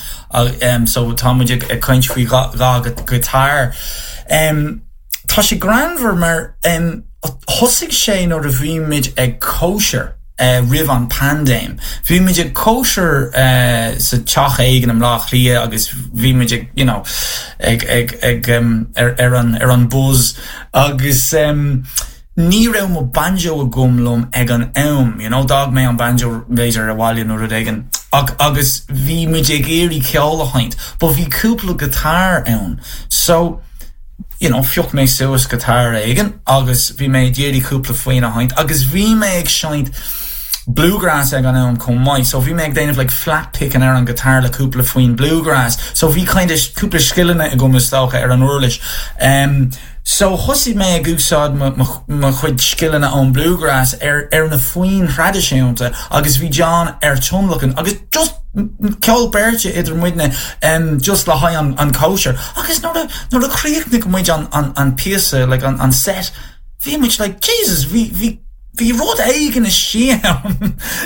um, so tá muid ag ag caint faoi dhá guitar. Um, tá sé greannmhar mar um, thosaigh sé nuair a bhí muid ag cóisir uh, roimh an paindéim. Bhí muid ag cóisir uh, sa teach éigin i mBleá Cliath agus bhí muid ag you know, ag, ag, ag um, ar, ar, an, ar an buzz agus um, ní raibh mo banjo agam liom ag an am, you know, d'fhág mé an banjo b'fhéidir abhaile nó rud éigin. Ag, agus bhí muid ag iarraidh ceol a sheinnt, but bhí cúpla guitar ann. So, you know, phioc mé suas guitar éigin agus bhí mé ag iarraidh cúpla foinn a sheinnt, agus bhí mé ag seinnt bluegrass ag an am chomh maith so bhí mé ag déanamh like flat picking ar an guitar le cúpla foinn bluegrass so bhí kind of cúpla scileanna agam is dócha ar an uirlis um, so thosaigh mé ag úsáid mo chuid scileanna ón bluegrass ar ar na foinn thraidisiúnta agus bhí John ar tionlacan agus just ceol beirte idir muidne um, just le haghaidh an, an cóisir agus nuair nuair a chríochnaigh muid an, an, an píosa like an, an set bhí muid like Jesus bhí bhí bhí rud éigin istigh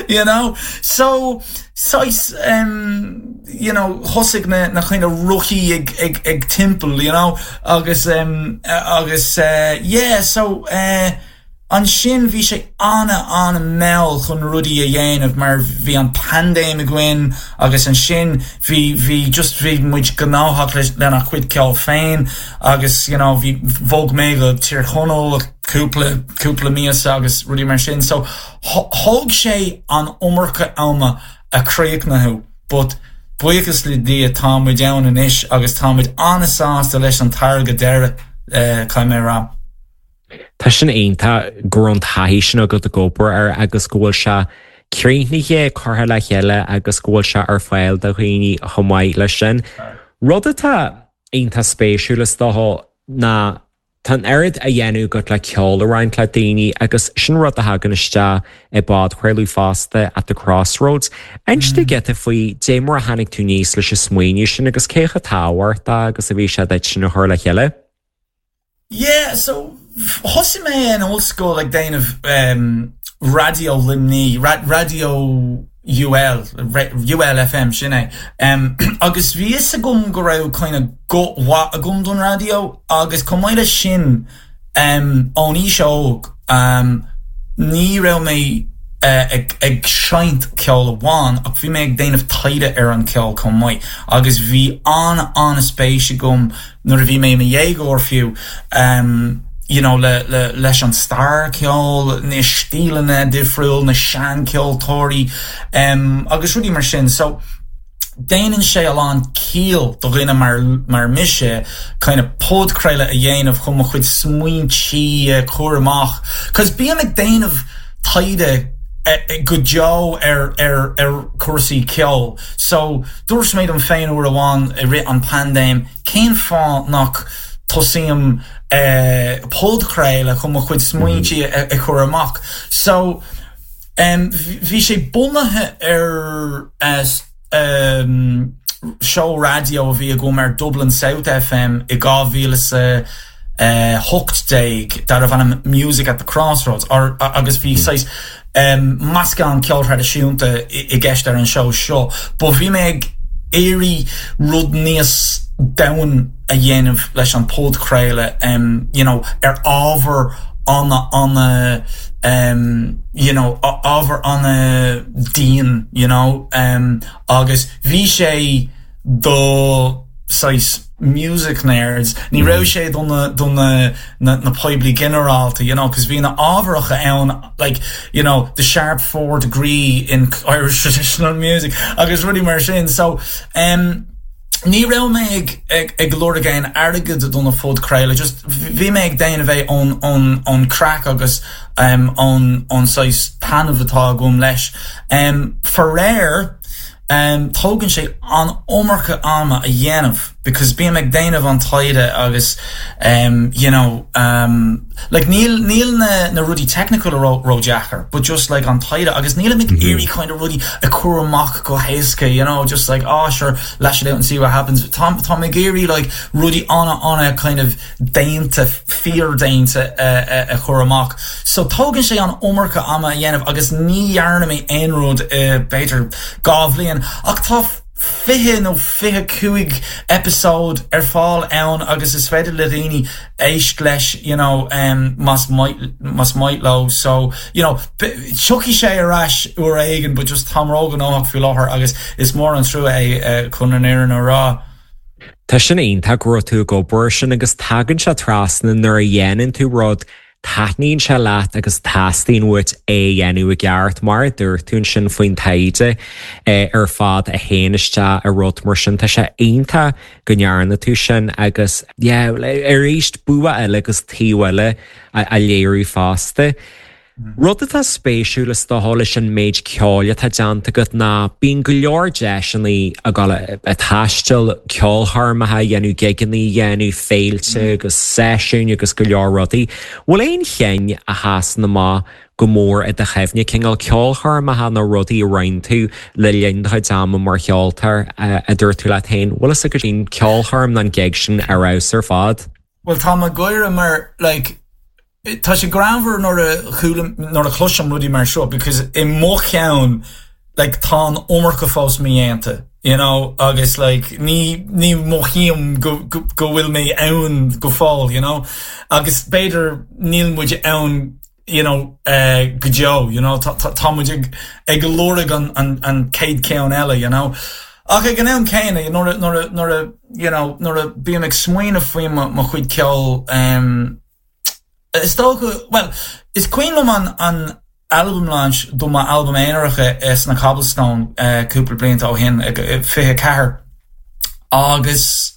you know so saghas um, you know thosaigh na na kind of rothaí ag ag ag timpeall you know agus um, agus uh, yeah so uh, ansin bhí sé ana ana mall chun rudaí a dhéanamh mar bhí an paindéim againn agus ansin bhí bhí just bhí muid gnóthach lena chuid ceol féin agus you know bhí bhog mé go Tír Chonaill cúpla cúpla míosa agus rudaí mar sin so thóg sé an iomarca ama a chríochnú but buíochas le Dia tá muid ann anois agus tá muid an-sásta leis an táirge deiridh uh, caithfidh mé rá. Tá sin iontach go raibh an taithí sin agat ag obair air agus go bhfuil sé críochnaithe curtha le chéile agus go bhfuil sé ar fáil do dhaoine chomh maith leis sin. Rud atá iontach spéisiúil is dócha ná Tá an oiread á dhéanamh agat le ceol a roinnt le daoine agus sin rud a thagann isteach i bpodchraoladh fosta at the Crossroads. Inis mm. giota faoi dé mar a tháinig tú aníos leis an smaoineamh sin agus cé chomh tábhachtach agus a bhí sé duit sin a chur le chéile? Yeah, so thosaigh mé in ollscoil ag déanamh um, Raidió Luimnigh, ra Raidió UL ULFM sin é. Um, agus bhí fhios agam go raibh kind of guth maith agam don raidió agus chomh maith leis sin um, ón aois óg um, ní raibh mé uh, ag, ag seinnt ceol amháin ach bhí mé ag déanamh taighde ar an ceol chomh maith agus bhí an an-spéis agam nuair a bhí mé i mo dhéagóir fiú um, you know, le, le, leis an stair ceol na stíleanna difriúil na seancheoltóirí um, agus rudaí mar sin so déanann sé a lán ciall do dhuine mar mar mise kind of podchraoladh a dhéanamh chun mo chuid smaointe a chur amach cos bím ag déanamh taighde eh, go deo ar ar ar cúrsaí ceol so dúirt mé dom féin uair amháin i rith an paindéim cén fáth nach tosaím eh, podchraoladh chun mo chuid smaointe a, a chur amach so um, bhí sé bunaithe ar uh, um, seó raidió a bhí agam ar Dublin South FM i dhá mhíle sa uh, hocht déag darbh ainm Music at the Crossroads or, agus bhí mm. um, meascán ceol traidisiúnta i gceist ar an seó seo, Ba bhí mé ag iarraidh rud níos domhain a dhéanamh leis an podchraoladh um, you know, ar ábhar ana ana um, you know, ábhar ana dian you know, um, agus bhí sé do saghas music nerds ní raibh mm. sé don don na, na poiblí ginearálta you know cos bhí na ábharacha ann like you know the sharp four degree in Irish traditional music agus rudaí mar sin so um Ní raibh mé ag ag ag lorg aon airgead don phodchraoladh just bhí mé ag déanamh bheith ón ón ón craic agus um, ón ón saghas taitneamh atá agam leis. Um, Faraor um, tógann sé an iomarca ama a dhéanamh because bím ag déanamh an taighde agus um, you know um, like níl níl na, na rudaí technical ró ródheacair but just like an taighde agus níl mm -hmm. iarraidh kind of rudaí a chur amach go héasca you know just like oh sure lash it out and see what happens tá tá ag iarraidh like rudaí ana ana kind of déanta fíordhéanta uh, uh, a chur amach so tógann sé an iomarca ama a dhéanamh agus ní dhearna mé aon rud uh, b'fhéidir dhá bhliain ach tá fiche nó fiche cúig episode ar fáil ann agus is féidir le daoine éisteacht leis you know um, más más maith leo so you know tiocfaidh sé ar ais uair éigin but just tá róghnóthach faoi láthair agus is mór an trua é uh, chun an fhírinne a rá. Tá sin iontach go raibh tú ag obair sin agus tagann sé trasna nuair a dhéanann tú rud taitníonn sé leat agus teastaíonn uait é dhéanamh i gceart mar dúirt tú sin faoin taighde eh, ar fad a théann isteach i rud mar sin tá sé iontach go ndearna tú sin agus arís bua eile agus taobh eile a léiriú fosta. Rud atá spéisiúil is dócha leis an méid ceoil atá déanta agat ná bíonn go leor deiseanna a ghabháil ag taisteal ceolchoirmeacha a dhéanamh gigeanna a dhéanamh féilte agus seisiúin agus go leor rudaí. Bhfuil aon cheann a sheasann amach go mór i do chuimhne cineál ceolchoirmeacha nó rudaí a rinne tú le linn do chuid ama mar cheoltóir a dúirt tú leat féin, bhfuil fhios agat an ceolchoirm nó an gig sin ar fheabhas ar fad? Well tá mé ag gáire mar like tá sé greannmhar nuair a chuala nuair a chloisim rudaí mar seo because i mo cheann like tá an iomarca fós mídhéanta you know agus like ní ní mothaím go go go bhfuil mé ann go fóill you know agus b'fhéidir níl muid ann you know uh, go deo you know tá tá tá muid ag ag lorg an an an chéad cheann eile you know Ach ag an am céanna nuair a- nuair a- nuair a you know nuair a bím ag smaoineamh faoi mo mo chuid ceoil um, Is dócha well is cuimhin liom an an album launch do mo album aonarach sna Cobblestone uh, cúpla blianta ó shin fiche ceathair agus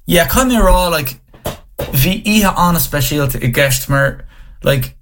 yeah caithfidh mé rá like bhí oíche an-speisialta i gceist mar like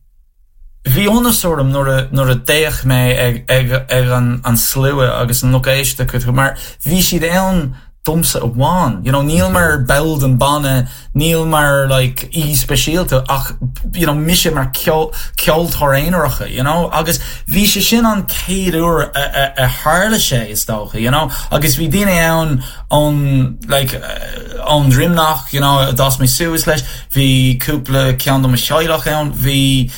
bhí iontas orm nuair a nuair a d'fhéach mé ag ag ag an an slua agus an lucht éisteachta mar bhí siad ann domsa amháin you know níl mar ball den banna níl mar like aoi speisialta ach you know mise mar ceol ceoltóir aonarach you know agus bhí sé sin an chéad uair a, a, a tharla sé is dócha you know agus bhí daoine ann ón like uh, ón Droimneach you know a d'fhás mé suas leis bhí cúpla ceann de mo theaghlach ann bhí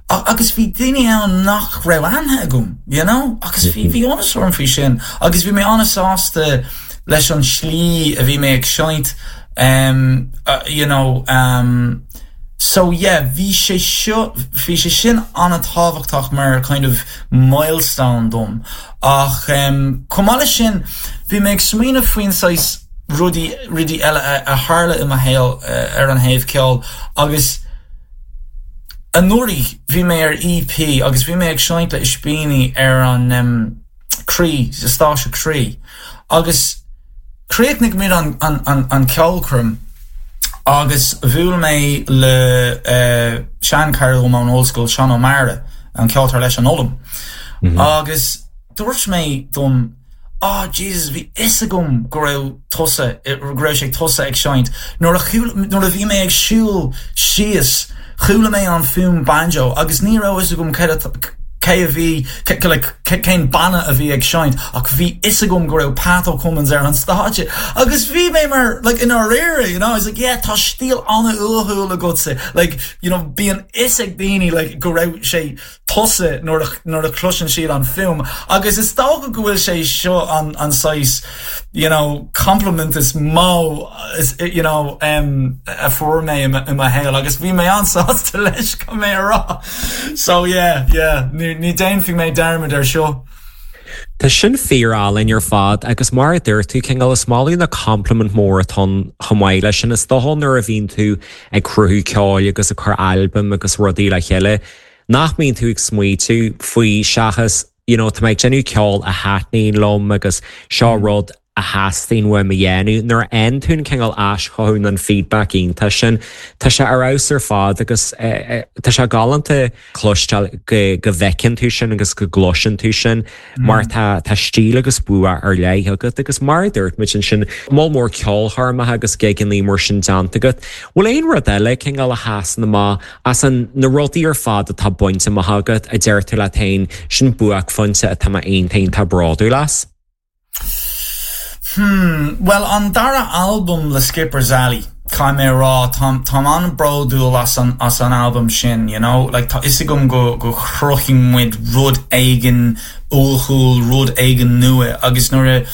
agus bhí daoine ann nach raibh aithne agam you know agus bhí bhí iontas orm faoi sin agus bhí mé an-sásta leis an slí a bhí mé ag seinnt um, uh, you know um, so yeah bhí sé seo bhí sé sin an-tábhachtach mar kind of milestone dom ach um, chomh maith leis sin bhí mé ag smaoineamh faoin saghas rudaí rudaí eile a, a tharla i mo shaol uh, ar an thaobh ceoil agus anuraidh bhí mé ar EP agus bhí mé ag seinnt le Ispíní ar an um, Croí sa stáisiún Croí agus chríochnaigh muid an, an, an, an ceolchoirm agus bhuail mé le uh, seanchara ón ollscoil Seán Ó Meara an ceoltóir leis an Ollam. Mm -hmm. Agus dúirt mé dom oh Jesus bhí fhios agam go raibh tusa go raibh sé tusa ag seinnt nuair nuair a bhí mé ag siúl síos chuala mé an fuaim banjo agus ní raibh fhios agam cé a bhí cén banna a bhí ag seinnt ach bhí fhios agam go raibh Pat Cummins ar an stáitse agus bhí mé mar like in réir you know, like yeah tá stíl an-uathúil agatsa like you know bíonn fhios ag daoine like go raibh sé tusa nuair nuair a chloiseann siad an fuaim agus is dócha go bhfuil sé seo an an saghas you know compliment is mó is you know um, a fuair mé i mo shaol agus bhí mé an-sásta leis go mé rá so yeah yeah ní ní déanfaidh mé dearmad ar seo. Tá sin fíorálainn ar fad agus mar a dúirt tú cineál is maith na compliment mór atá chomh maith leis sin is dócha nuair a bhíonn tú ag cruthú ceoil agus ag cur albam agus rudaí le chéile. Nach mbíonn tú ag smaoitiú faoi seachas you know, tá mé ag déanamh ceol a thaitníonn liom agus seo rud a theastaíonn uaim a dhéanamh nuair a fhaigheann tú an cineál aischothú an feedback iontach sin Tá sé ar fheabhas ar fad agus tá sé galánta cloisteáil go go bhfeiceann tú sin agus go gcloiseann tú sin mar tá tá stíl agus bua ar leith agat agus mar dúirt muid sin moll mór ceolchoirmeacha agus gigeanna mar sin déanta agat. Bhfuil aon rud eile cineál a sheasann amach as an na rudaí ar fad atá bainte amach agat a deir tú leat féin sin buaicphointe atá mé iontach bródúil as? Hmm, well an dara album le Skipper's Alley Caithfidh mé rá tá tá an-bhródúil as an as an album sin you know like tá fhios agam go go chruthaigh muid rud éigin uathúil rud éigin nua agus nuair a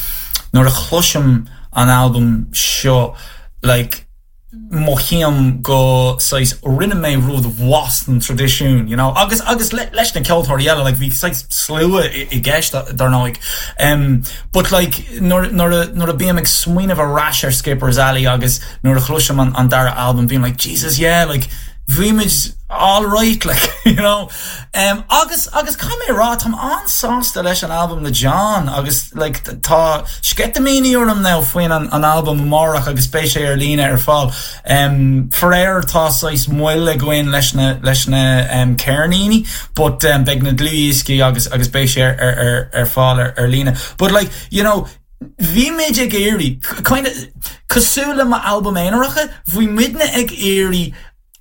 nuair a chloisim an album seo like mothaím go saghas rinne mé rud as an traidisiún you know agus agus le, leis na ceoltóirí eile like bhí saghas slua i, i gceist dar ndóigh um, but like nuair nuair a nuair a bím ag smaoineamh ar ais ar Skipper's Alley agus nuair a chloisim an, an dara album bím like Jesus yeah like bhí muid all right like you know um, agus agus caithfidh mé rá táim an-sásta leis an album le John agus like tá sceitimíní orm now faoin an, an album amárach agus beidh sé ar líne ar fáil um, faraor tá saghas moill againn leis na leis na um, ceirníní but um, beidh na dlúthdhioscaí agus agus beidh sé ar, ar, ar, ar fáil ar, ar líne but like you know Bhí muid ag iarraidh kind of cosúil le m'album aonaracha, bhí muidne ag iarraidh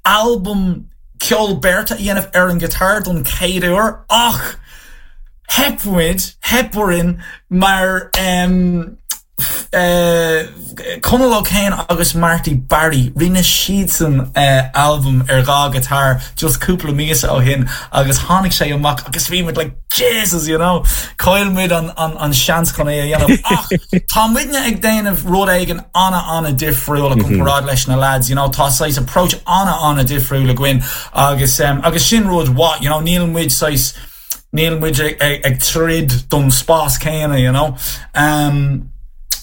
album ceol beirte a dhéanamh ar an guitar don chéad uair ach theip muid theip orainn mar um, uh, Conal O'Kane agus Marty Barry rinne siadsan uh, album ar dhá guitar just cúpla míosa ó shin agus tháinig sé amach agus bhí muid like Jesus you know chaill muid an, an, an seans chun é a dhéanamh ach tá muidne ag déanamh rud éigin ana ana difriúil mm -hmm. comparáid leis na lads you know tá saghas approach ana ana difriúil againn agus um, agus sin rud what you know níl muid saghas níl muid ag, ag, ag troid don spás céanna you know um,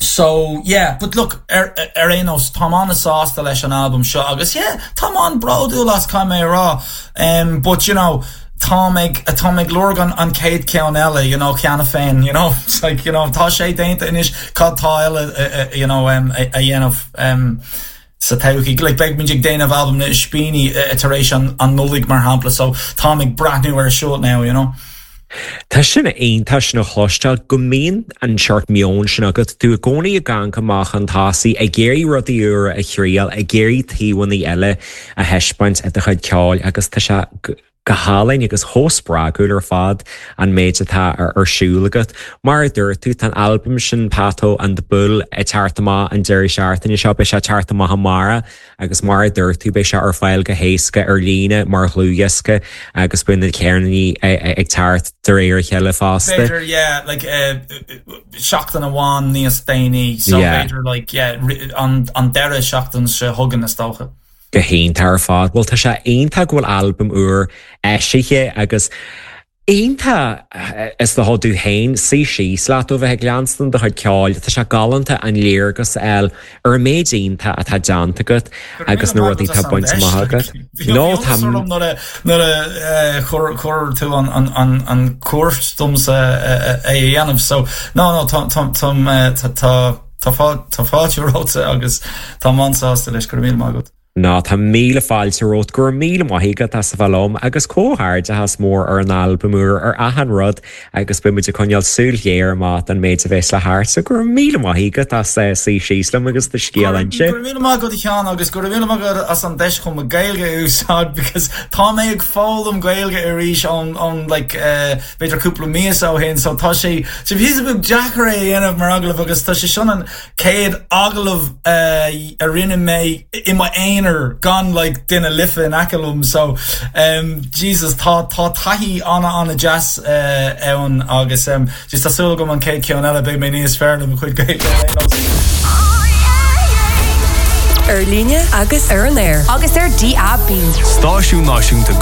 So yeah, but look ar ar aon nós tá an-sásta leis an album seo agus yeah, tá an-bhródúil as caithfidh mé rá um, but you know tá ag tá ag lorg an an chéad ceann eile you know cheana féin you know it's like you know tá sé déanta anois cad tá eile uh, uh, you know um, a, a dhéanamh um, sa todhchaí like beidh muid ag déanamh album na Ispíní uh, tar éis an, an Nollaig mar shampla so tá ag breathnú ar seo now you know. Tá sin iontach sin a chloisteáil go mbíonn an seort meon sin agat tú i gcónaí ag gabháil amach chun tosaigh ag iarraidh rudaí úra a thriail ag iarraidh taobhanna eile a thaispeáint i do chuid ceoil agus tá sé go hálainn agus chomh spreagúil ar fad an méid atá ar ar siúl agat. Mar a dúirt tú tá an album sin Pato and the Bull ag teacht amach an deireadh seachtaine seo beidh sé ag teacht amach amárach agus mar a dúirt tú beidh sé ar fáil go héasca ar líne mar dhlúthdhiosca agus beidh na ceirníní ag teacht de réir a chéile fosta. B'fhéidir yeah like uh, seachtain amháin níos déanaí so Yeah. b'fhéidir like yeah ri- an an deireadh seachtain seo chugainn is dócha. go hiontach ar fad. Well tá sé iontach go bhfuil album úr eisithe agus iontach is do tú féin suí síos leat ó bheith ag leanstan do chuid ceoil, Tá sé galánta an léargas eil ar an méid iontach atá déanta agat agus na rudaí tá bainte amach agat. No tá nuair a chuir chuir tú an an an an cuairt domsa é a dhéanamh so no no tá tá tá tá tá tá fáilte romhat agus tá an-sásta leis go raibh míle maith agat. Ná tá míle fáilte romhat go raibh míle maith agat as a bheith liom agus comhghairdeas mór ar an album úr ar achan rud agus beimid ag coinneáil súil ghéar amach an méid a bheas le teacht so go raibh míle maith agat as eh, suí síos liom agus do scéal a inse. Go raibh míle maith agat a Sheáin agus go raibh míle maith agat as an deis chun mo Ghaeilge a úsáid because tá mé ag foghlaim Gaeilge arís ón ón like uh, b'fhéidir cúpla míosa ó shin so tá sé sé bhí beag deacair é a dhéanamh mar agallamh agus tá sé sin an chéad agallamh uh, a rinne mé i m'aonar gan like duine life in aice liom so um, Jesus tá tá taithí ana ana deas uh, ann agus um, just tá súil agam an chéad cheann eile beidh mé níos fearr le mo chuid Gaeilge ar aon nós. Ar líne agus ar an aer. Agus ar DAB. Stáisiún náisiúnta